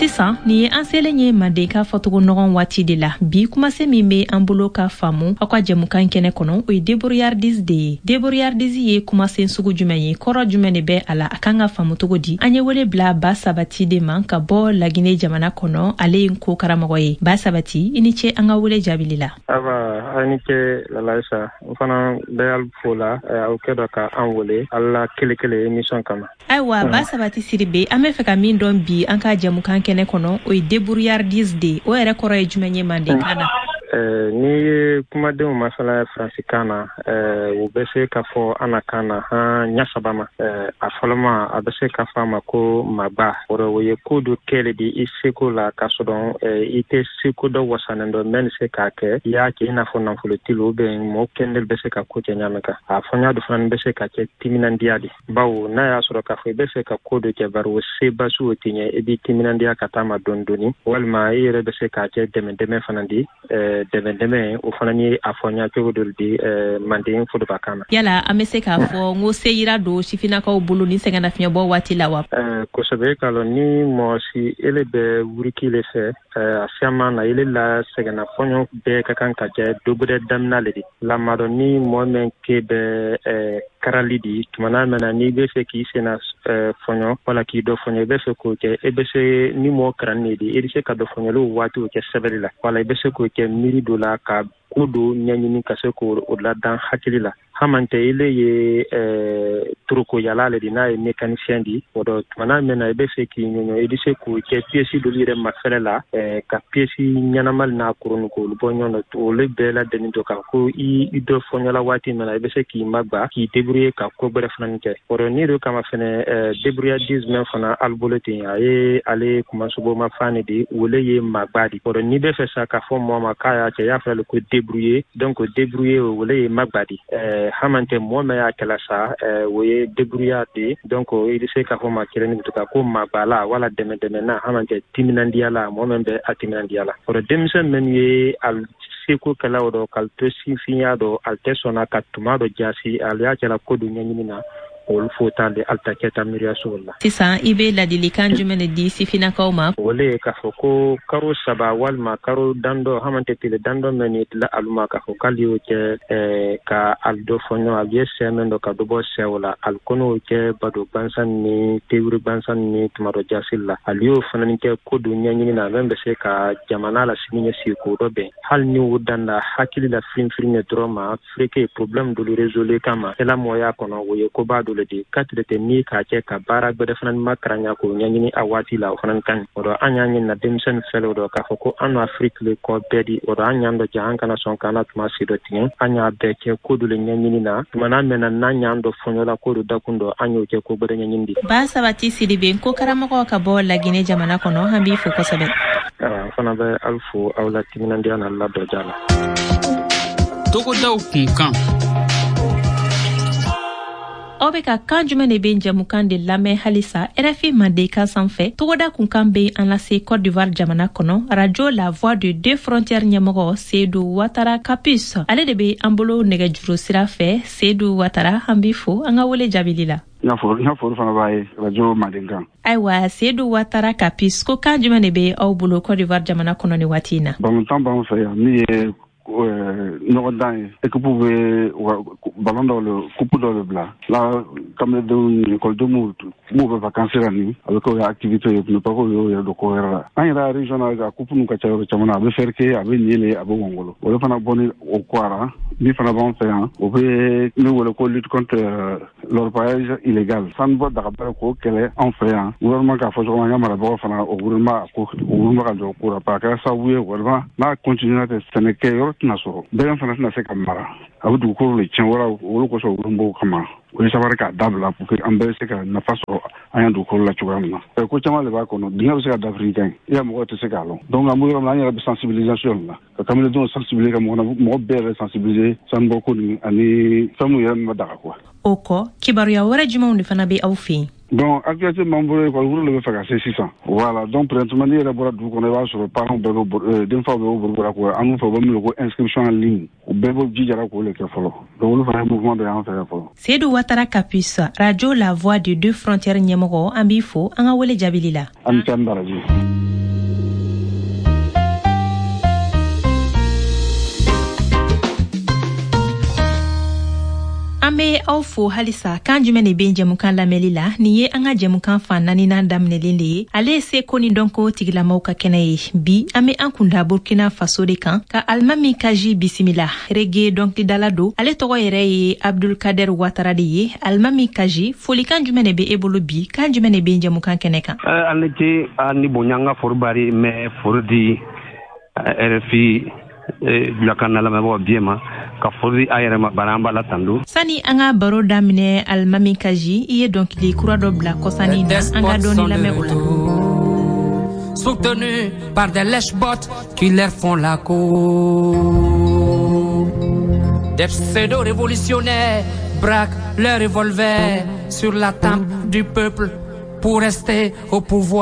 Sisan nin ye an selen ye Mandenkan fɔcogo nɔgɔn waati de la. Bi kumasen min bɛ an bolo ka faamu aw ka jɛmukan kɛnɛ kɔnɔ, o ye débrouillardise de ye. Débrouillardise ye kumasen sugu jumɛn ye? Kɔrɔ jumɛn de bɛ a la? A kan ka faamu cogo di? An ye wele bila Ba Sabati de ma ka bɔ Lagine jamana kɔnɔ. Ale ye ko karamɔgɔ ye. Ba Sabati, i ni ce an ka wele jaabili la. Aba, aw ni ce Lalaisa. N fana bɛ aw fo la aw kɛ dɔ ka an wele ala kele kele émission kama. Ayiwa, Ba Sabati Sidibe, an bɛ fɛ ka min dɔn bi an ka jɛmukan kɛnɛ kɔnɔ, o ye débrouillardise de ye. O yɛrɛ kɔrɔ ye jumɛn ye mandenkan na? N'i ye kumadenw masala faransikan na, u bɛ se ka fɔ an na kan na han ɲa saba ma. A fɔlɔma, a bɛ se ka fɔ a ma ko magba. O rɔ, o ye ko dɔ kɛ le di i seko la, k'a sɔrɔ i tɛ seko dɔ wasanen dɔ mɛn se k'a kɛ. I y'a kɛ i n'a fɔ nafolotigi ou bien mɔgɔ kɛnɛ bɛ se ka ko kɛ ɲa min kan. A fɔɲa dɔ fana bɛ se ka kɛ timinandiya di, bawo n'a y'a sɔrɔ k'a fɔ i bɛ fɛ ka ko dɔ kɛ, bari o sebasu o tɛ ɲɛ, i b'i timinandiya ka taa ma dɔɔni dɔɔni, walima i yɛrɛ bɛ se k'a kɛ dɛmɛ dɛmɛ fana di. Dɛmɛ dɛmɛ, o fana ni a fɔɲa cogo dɔ di manden forobakan na. Yala an bɛ se k'a fɔ n ko seyira don sifinnakaw bolo ni sɛgɛnnafiɲɛbɔ waati la wa? Kosɛbɛ. K'a lɔn ni mɔgɔ si ele bɛ wuriki le fɛ, a siyaman na ele la sɛgɛnna fɔɲɔ bɛɛ ka kan ka kɛ dɔ damina le di. Lamadɔ ni mɔgɔ min ke bɛ karali di tumana mɛn na, n'i bɛ fɛ k'i senna fɔɲɔ wala k'i dɔ fɔɲɔ, i bɛ fɛ k'o kɛ, e bɛ se ni mɔgɔ karanni di, i bɛ se ka dɔ fɔɲɔli waatiw kɛ sɛbɛnni la, wala i bɛ se k'o kɛ miiri dɔ la ka ko dɔ ɲɛɲini ka se k'o ladan hakili la. Hamantɛ ile ye toroko yala le di, n'a ye mécanicien di, o dɔ tumana min na i bɛ fɛ k'i ɲɔɲɔ, i bɛ se k'o kɛ pièce dɔ yɛrɛ mafɛlɛ la, ka pièce ɲɛnama n'a kurun k'olu bɔ ɲɔgɔn na, olu bɛɛ ladɛnni to kan ko i dɔ fɔɲɔla waati min na, i bɛ se k'i magba, k'i débrouiller ka ko gbɛrɛ fana kɛ. O dɔ n'i do kama fɛnɛ, débrouillardise mɛn fana ali bolo ten, a ye ale kumasobo ma fan de di, o le ye magba di. O dɔ n'i bɛ fɛ sa k'a fɔ mɔgɔ ma k'a y'a kɛ, i y'a fɔ ko débrouiller, donc débrouiller, o le ye magba di. Hamantɛ mɔgɔ min y'a kɛla sa, o ye débrouillard de. Donc i bɛ se k'a fɔ ma kelen to ko magbala wala dɛmɛ dɛmɛ na, hamantɛ timinandiya la, mɔgɔ min bɛ a timinandiya la. O dɔ denmisɛn minnu ye al seko kɛla o dɔ k'al to sifinya dɔ, al tɛ sɔnna ka tuma dɔ jasi, al y'a kɛla ko dɔ ɲɛɲini na, olu fo t'ale al ta kɛta miiriya sugu la. Sisan i bɛ ladilikan jumɛn de di sifinnakaw ma? O le ye k'a fɔ ko karo 3 walima karo dandɔ, hamantɛ tile dandɔ mɛn ni tila alu ma, k'a fɔ k'ale y'o kɛ ka al dɔ fɔ ɲɔgɔn, al ye sɛ mɛn dɔ ka dɔ bɔ sɛw la, al kɔnɔ'o kɛ bado gansan ni tewuri gansan ni tuma dɔ jasili la, al y'o fana kɛ ko dɔ ɲɛɲini na mɛn bɛ se ka jamana la sini ɲɛsigi k'o dɔ bɛn, hali ni o dan na hakili la firin-firin dɔrɔn ma fureke problème dolu résoudre kama i la mɔgɔya kɔnɔ, o ye koba dɔ le di. Ka tile tɛ ni k'a kɛ ka baara gbɛrɛ fana ma karanya k'o ɲɛɲini a waati la, o fana ka ɲi. O dɔ an y'a ɲini na denmisɛnnin fɛlɛ o dɔ k'a fɔ ko an Afiriki le kɔ bɛɛ di. O dɔ an y'an dɔ ja, an kana sɔn k'an na tuma si dɔ tigɛ, an y'a bɛɛ kɛ ko dɔ le ɲɛɲini na tumana mɛn na n'an y'an dɔ fɔɲɔla ko dɔ dakun dɔ, an y'o kɛ ko gbɛrɛ ɲɛɲini di. Ba Sabati Sidibe, ko karamɔgɔ ka bɔ Lagine jamana kɔnɔ, an b'i fo kosɛbɛ. An fana bɛ aw fo aw la timinandiya n'a la dɔja la. Togodaw kunkan. Aw bɛ ka Kan jumɛn de bɛ jɛmukan de lamɛn halisa RFI Mandenkan sanfɛ. Togoda kunkan bɛ an lase Côte d'Ivoire jamana kɔnɔ. Radio La Voix de Deux Frontières ɲɛmɔgɔ Seydou Ouattara Capus, ale de bɛ an bolo nɛgɛjuru sira fɛ. Seydou Ouattara, an b'i fo an ka wele jaabili la. N ka foli fana b'a ye Radio Mandenkan. Ayiwa, Seydou Ouattara Capus, ko kan jumɛn de bɛ aw bolo Côte d'Ivoire jamana kɔnɔ ni waati in na? Balontan b'an fɛ yan min ye ɲɔgɔndan ye, équipe bɛ ballon dɔw le, coupe dɔw le bila la kamaledenw, ekɔlidenw m'u bɛ vacances la, ni a bɛ kɛ o ye activité ye, mais pas ko y'o yɛrɛ don ko wɛrɛ la. An yɛrɛ région na, a coupe ninnu ka ca yɔrɔ caman na, a bɛ Ferke, a bɛ Niele, a bɛ Wangolo. Olu fana bɔ ni o ko ara min fana b'an fɛ yan, o bɛ min wele ko lutte contre l'orpaillage illégal, sanubɔ dagabara, k'o kɛlɛ anw fɛ yan. Gouvernement k'a fɔ cogo min, an ka marabagaw fana, o gouvernement ko o gouvernement ka jɔ o ko la, parce que a kɛra sababu ye vraiment, n'a continuera tɛ, sɛnɛkɛ yɔrɔ tɛna sɔrɔ, bɛgan fana tɛna se ka mara, a bɛ dugukolo le tiɲɛ. Wala olu kosɔn, olu b'o kama, o ye sabari k'a dabila pour que an bɛɛ bɛ se ka nafa sɔrɔ an ya dugukolo la cogoya min na. Ko caman de b'a kɔnɔ, dingɛ bɛ se ka dafiri kan, i ya mɔgɔw tɛ se k'a lɔn. Donc an bɛ yɔrɔ min na, an yɛrɛ bɛ sensibilisation la, ka kamaledenw sensibiliser, ka mɔgɔ bɛɛ yɛrɛ sensibiliser sanubɔ ko nin ani fɛn min yɛrɛ min bɛ daga quoi. O kɔ, kibaruya wɛrɛ jumɛnw de fana bɛ aw fɛ yen? Donc actualité m'an bolo, école wuro de bɛ fɛ ka se sisan. Voilà, donc présentement, n'i yɛrɛ bɔra dugu kɔnɔ, i b'a sɔrɔ parents bɛɛ bɛ, denfaw bɛɛ bɛ boli ko an fɛ, u bɛ min ko inscription en ligne, u bɛɛ bɛ jijara k'o le kɛ fɔlɔ. Donc olu fana ye mouvement dɔ y'an fɛ yan fɔlɔ. Seydou Ouattara Capus, Radio La Voix de Deux Frontières ɲɛmɔgɔ, an b'i fo an ka wele jaabili la. An ni ce, an baraji. An be aw fo halisa. Kan jumɛn de be jɛmukan lamɛnli la? Nin ye an ka jɛmukan fan naaninan daminɛlen de ye. Ale ye seko ni dɔnko tigilamaw ka kɛnɛ ye. Bi an be an kunda Burkina Faso de kan, ka Alimami Kaji bisimila. Reggae dɔnkilidala don, ale tɔgɔ yɛrɛ ye Abdulkader Watara de ye. Alimami Kaji, folikan jumɛn de be e bolo bi? Kan jumɛn de be jɛmukan kɛnɛ kan? An ni ce, a ni bonya. An ka fori bari mɛ fori di RFI julakan na lamɛnbagaw biye ma, ka fori a yɛrɛ ma bana, an b'a la tandu. Sani an ka baro daminɛ, Alimami Kaji, i ye dɔnkili kura dɔ bila kɔsani na, an ka dɔɔni lamɛn o la. Soutenus par des lèche-bottes qui leur font la cour. Des pseudo-révolutionnaires braquent leur revolver sur la tempe du peuple pour rester au pouvoir.